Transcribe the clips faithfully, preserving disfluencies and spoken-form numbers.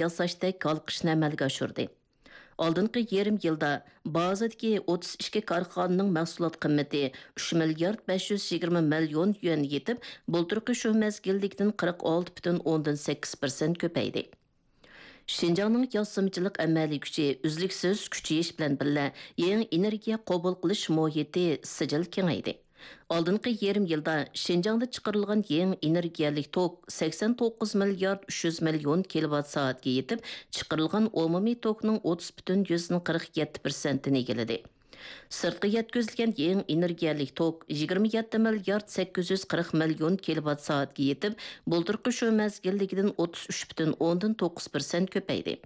ياساشتەك ھالقىشنى ئەمەلگە ئاشۇردى. ئالدىنقى يېرىم يىلدا بازىدىكى ئوتتۇز ئىككى كارخانىنىڭ مەھسۇلات قىممىتى ئۈچ مىليارد بەش يۈز يىگىرمە مىليون يۈەن يېتىپ، بۇلتۇرقى شۇ مەزگىلدىكىدىن قىرىق ئالتە پۈتۈن ئوندىن سەككىز پىرسەنت كۆپەيدى. شىنجاڭنىڭ ياسىمىچىلىق ئەمەلىي كۈچى ئۈزلۈكسىز كۈچىيىش بىلەن بىللە، يېڭى ئېنېرگىيە قوبۇل قىلىش مۇھىتى سىجىل كېڭەيدى. ئالدىنقى يېرىم يىلدا شىنجاڭدا چىقىرىلغان يېڭى ئېنېرگىيەلىك توك سەكسەن توققۇز مىليارد ئۈچ يۈز مىليون كىلوۋات سائەتكە يېتىپ، چىقىرىلغان ئومۇمىي توكنىڭ ئوتتۇز پۈتۈن يۈزدىن قىرىق يەتتە پىرسەنتىنى ئىگىلىدى. سىرتقا يەتكۈزۈلگەن يېڭى ئېنېرگىيەلىك توك يىگىرمە يەتتە مىليارد سەككىز يۈز قىرىق مىليون كىلوۋات سائەتكە يېتىپ، بۇلتۇرقى شۇ مەزگىلدىكىدىن ئوتتۇز ئۈچ پۈتۈن ئوندىن توققۇز پىرسەنت كۆپەيدى.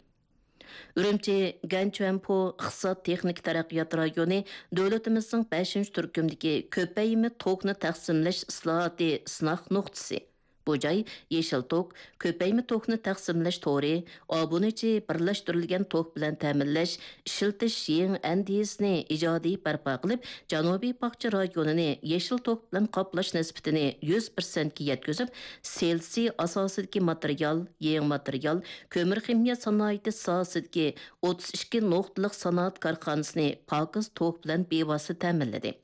ئۈرۈمچى گەنچۈەنپو ئىقتىساد تېخنىكا تەرەققىيات رايونى دۆلىتىمىزنىڭ بەشىنچى تۈركۈمدىكى كۆپەيمە توكنى تەقسىملەش ئىسلاھاتى سىناق نۇقتىسى. بۇ جاي يېشىل توك، كۆپەيمە توكنى تەقسىملەش تورى، ئابۇنىچى بىرلەشتۈرۈلگەن توك بىلەن تەمىنلەش، ئىشلىتىش يېڭى ئەندىزىسىنى ئىجادىي بەرپا قىلىپ، جەنۇبىي باغچە رايونىنى يېشىل توك بىلەن قاپلاش نىسبىتىنى يۈز پىرسەنتكە يەتكۈزۈپ، سېلىسى ئاساسىدىكى ماتېرىيال، يېڭى ماتېرىيال، كۆمۈر خىمىيە سانائىتى ساھەسىدىكى ئوتتۇز ئىككى نۇقتىلىق سانائەت كارخانىسىنى پاكىز توك بىلەن بىۋاسىتە تەمىنلىدى.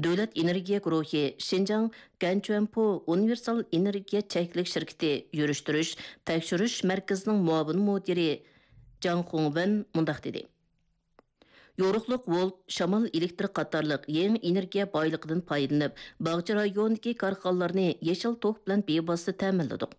دۆلەت ئېنېرگىيە گۇرۇھى شىنجاڭ گەنچۈەنپو ئۇنىۋېرسال ئېنېرگىيە چەكلىك شىركىتى يۈرۈشتۈرۈش، تەكشۈرۈش مەركىزىنىڭ مۇئاۋىن مۇدىرى جاڭ خۇڭۋېن مۇنداق دېدى: يورۇقلۇق ۋولت، شامال ئېلېكتىر قاتارلىق يېڭى ئېنېرگىيە بايلىقىدىن پايدىلىنىپ، باغچە رايونىدىكى كارخانىلارنى يېشىل توك بىلەن بىۋاسىتە تەمىنلىدۇق.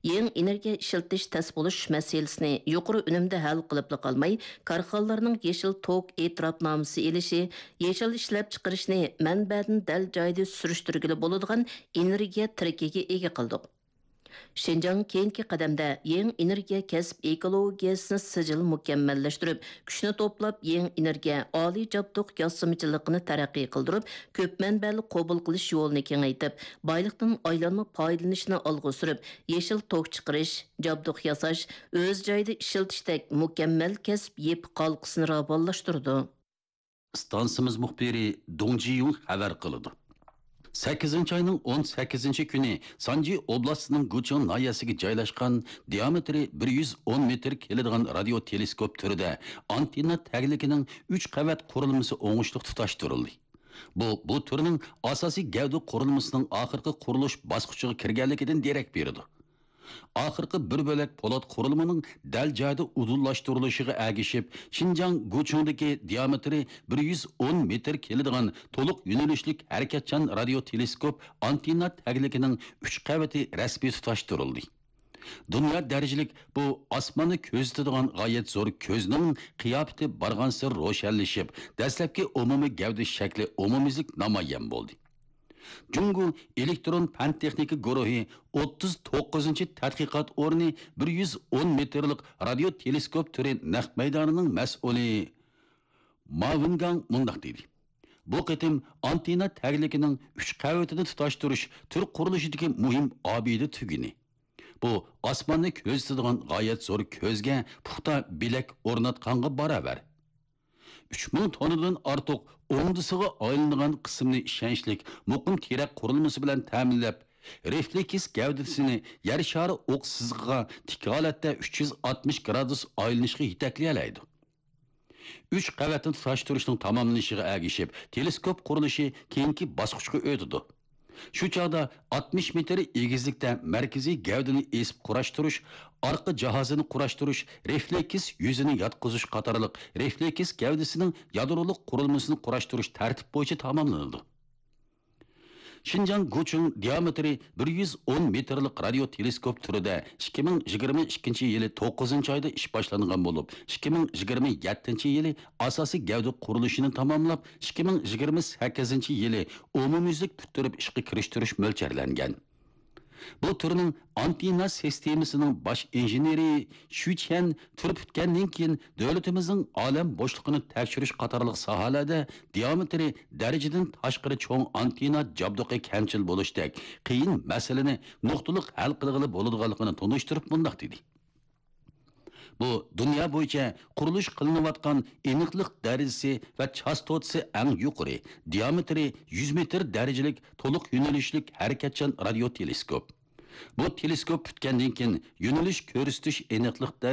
يېڭى ئېنېرگىيە ئىشلىتىش تەس بولۇش مەسىلىسىنى يۇقىرى ئۈنۈمدە ھەل قىلىپلا قالماي، كارخانىلارنىڭ يېشىل توك ئېتىراپنامىسى ئېلىشى، يېشىل ئىشلەپچىقىرىشنى مەنبەدىن دەل جايىدا سۈرۈشتۈرگىلى بولىدىغان ئېنېرگىيە تىرىكىگە ئىگە قىلدۇق. شىنجاڭ كېيىنكى قەدەمدە يېڭى ئېنېرگىيە كەسىپ ئېكولوگىيەسىنى سىجىل مۇكەممەللەشتۈرۈپ، كۈچنى توپلاپ، يېڭى ئېنېرگىيە ئالىي جابدۇق ياسىمىچىلىقىنى تەرەققىي قىلدۇرۇپ، كۆپ مەنبەلىك قوبۇل قىلىش يولىنى كېڭەيتىپ، بايلىقتىن ئايلانما پايدىلىنىشنى ئالغا سۈرۈپ، يېشىل توك چىقىرىش، جابدۇق ياساش، ئۆز جايىدا ئىشلىتىشتەك مۇكەممەل كەسىپ يېپىق ھالقىسىنى راۋانلاشتۇرىدۇ. ئىستانسىمىز مۇخبىرى دۇڭ جىيۇڭ خەۋەر قىلىدۇ. سەككىزىنچى ئاينىڭ ئون سەككىزىنچى كۈنى سانجى ئوبلاستىنىڭ گۇچىڭ ناھىيەسىگە جايلاشقان دىئامېتىرى بىر يۈز ئون مېتىر كېلىدىغان رادىيو تېلېسكوپ تۈرىدە ئانتېننا تەگلىكىنىڭ ئۈچ قەۋەت قۇرۇلمىسى ئوڭۇشلۇق تۇتاشتۇرۇلدى. بۇ، بۇ تۈرنىڭ ئاساسىي گەۋدە قۇرۇلمىسىنىڭ ئاخىرقى قۇرۇلۇش باسقۇچىغا كىرگەنلىكىدىن دېرەك بېرىدۇ. ئاخىرقى بىر بۆلەك پولات قۇرۇلمىنىڭ دەل جايىدا ئۇدۇللاشتۇرۇلۇشىغا ئەگىشىپ، شىنجاڭ گۇچىڭدىكى دىئامېتىرى بىر يۈز ئون مېتىر كېلىدىغان تولۇق يۆنىلىشلىك ھەرىكەتچان رادىيو تېلېسكوپ ئانتېننا تەگلىكىنىڭ ئۈچ قەۋىتى رەسمىي تۇتاشتۇرۇلدى. دۇنيا دەرىجىلىك بۇ ئاسماننى كۆزىتىدىغان غايەت زور كۆزنىڭ قىياپىتى بارغانسېرى روشەنلىشىپ، دەسلەپكى ئومۇمىي گەۋدە شەكلى ئومۇميۈزلۈك نامايان بولدى. جۇڭگو ئېلېكترون پەن تېخنىكا گۇرۇھى ئوتتۇز توققۇزىنچى تەتقىقات ئورنى بىر يۈز ئون مېتىرلىق رادىيو تېلېسكوپ تۈرى نەق مەيدانىنىڭ مەسئۇلى ما ۋېنگاڭ مۇنداق دېدى: بۇ قېتىم ئانتېننا تەگلىكىنىڭ ئۈچ قەۋىتىنى تۇتاشتۇرۇش تۈر قۇرۇلۇشىدىكى مۇھىم ئابىدە تۈگۈنى. بۇ ئاسماننى كۆزىتىدىغان غايەت زور كۆزگە پۇختا بىلەك ئورناتقانغا باراۋەر. ئۈچ مىڭ توننىدىن ئارتۇق ئوڭدىسىغا ئايلىنىدىغان قىسىمنى ئىشەنچلىك، مۇقىم تىرەك قۇرۇلمىسى بىلەن تەمىنلەپ، رېفلېكس گەۋدىسىنى يەر شارى ئوق سىزىقىغا تىك ھالەتتە ئۈچ يۈز ئاتمىش گرادۇس ئايلىنىشقا يېتەكلىيەلەيدۇ. ئۈچ قەۋەتنى تۇتاشتۇرۇشنىڭ تاماملىنىشىغا ئەگىشىپ، تېلېسكوپ قۇرۇلۇشى كېيىنكى باسقۇچقا ئۆتىدۇ. شۇ چاغدا ئاتمىش مېتىر ئېگىزلىكتە مەركىزىي گەۋدىنى ئېسىپ قۇراشتۇرۇش، ئارقا جاھازىنى قۇراشتۇرۇش، رېفلېكس يۈزىنى ياتقۇزۇش قاتارلىق رېفلېكس گەۋدىسىنىڭ يادرولۇق قۇرۇلمىسىنى قۇراشتۇرۇش تەرتىپ بويىچە تاماملىنىدۇ. شىنجاڭ گۇچىڭ دىئامېتىرى بىر يۈز ئون مېتىرلىق رادىيو تېلېسكوپ تۈرىدە ئىككى مىڭ يىگىرمە ئىككىنچى يىلى توققۇزىنچى ئايدا ئىش باشلانغان بولۇپ، ئىككى مىڭ يىگىرمە يەتتىنچى يىلى ئاساسىي گەۋدە قۇرۇلۇشىنى تاماملاپ، ئىككى مىڭ يىگىرمە سەككىزىنچى يىلى ئومۇميۈزلۈك پۈتتۈرۈپ ئىشقا كىرىشتۈرۈش مۆلچەرلەنگەن. بۇ تۈرنىڭ ئانتېننا سىستېمىسىنىڭ باش ئىنژېنېرى شۈ چيەن تۈر پۈتكەندىن كېيىن، دۆلىتىمىزنىڭ ئالەم بوشلۇقىنى تەكشۈرۈش قاتارلىق ساھەلەردە دىئامېتىرى دەرىجىدىن تاشقىرى چوڭ ئانتېننا جابدۇقى كەمچىل بولۇشتەك قىيىن مەسىلىنى نۇقتىلىق ھەل قىلغىلى بولىدىغانلىقىنى تونۇشتۇرۇپ مۇنداق دېدى: بۇ دۇنيا بويىچە قۇرۇلۇش قىلىنىۋاتقان ئېنىقلىق دەرىجىسى ۋە چاستوتىسى ئەڭ يۇقىرى، دىئامېتىرى يۈز مېتىر دەرىجىلىك تولۇق يۆنىلىشلىك ھەرىكەتچان رادىيو تېلېسكوپ. بۇ تېلېسكوپ پۈتكەندىن كېيىن، يۆنىلىش كۆرسىتىش ئېنىقلىق دەرىجىسى